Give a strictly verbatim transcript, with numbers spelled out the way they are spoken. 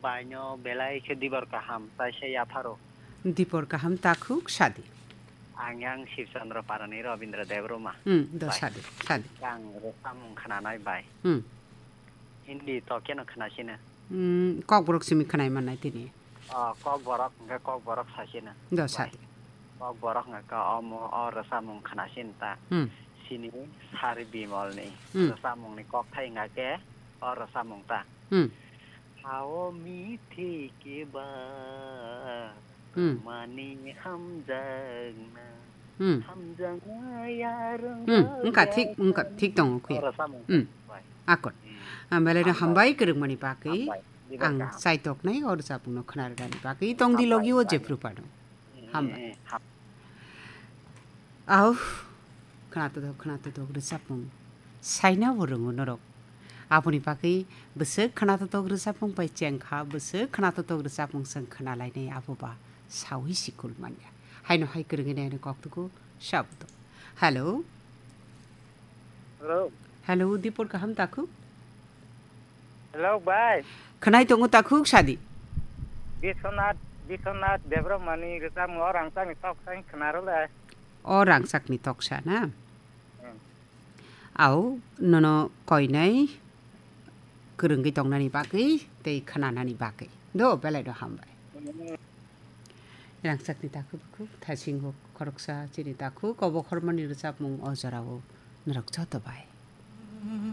Baino belai khe dibor kaham, taisa yapharo. Dibor kaham takhuk sadi. Ang yang Shivchandra Parani Rabindra Debbarma. Hmm, do Bai. Sadi, sadi. Ang rwchapmung khnanai bai. Hmm. Hindi to keno khnasino. Hmm, kokborok simi khnai mannai tini. Oh, kokborok, hwnkhe kokborok sasino. Do Bai. Sadi. Kokborok hwnkhe omo, o rwchapmung khnasin ta. Hmm. Sini Sari Bimolni Hmm. Rwchapmungni kokthai hwnkhe o rwchapmung ta. Hmm. Hao mithi ke ba Hmm. Mani hamjakna. Hmm. Hamjakna yarwng Hmm. Wngkha thik, wngkha thik tongo khuya. Oro samung Hmm. Bai. Akon. Hmm. Ang belai no Hambai. Hambai kwrwngmani bagwi. Hambai. Ang Dibor kaham. Chaitoknai o rwchapmungno khwnarwgani bagwi tongdi Hambai, logi o hambai. Jephru phano. Hmm, Hambai. Hmm, ham- Au, khwnatotok, khwnatotok rwchapmung. Saina bo rwngo norok. Aboni bagwi bwswk khwnatotok rwchapmung bai chengkha, bwswk khwnatotok rwchapmung chwng khwnalainai abo ba saui sikul manya. Haino hai kwrwngwi naino koktugo sabo tong. Hello. Hello. Hello, Dipor kaham takhuk? Hello, bai. Khwnai tongo takhuk sadi. Biswanath, Biswanath Debbarmani rwchapmung o rangchakni toksa wng khwnarw le. O rangchakni toksa na? Hmm. Au, nono koinai kwrwngwi tongnani bagwi tei khwnanani bagwi. Do, belai do hambai. Hmm. Rangchakni takhuk khuk thasingo khoroksa chini takhuk obo khormani rwchapmung o jorao norok joto bai.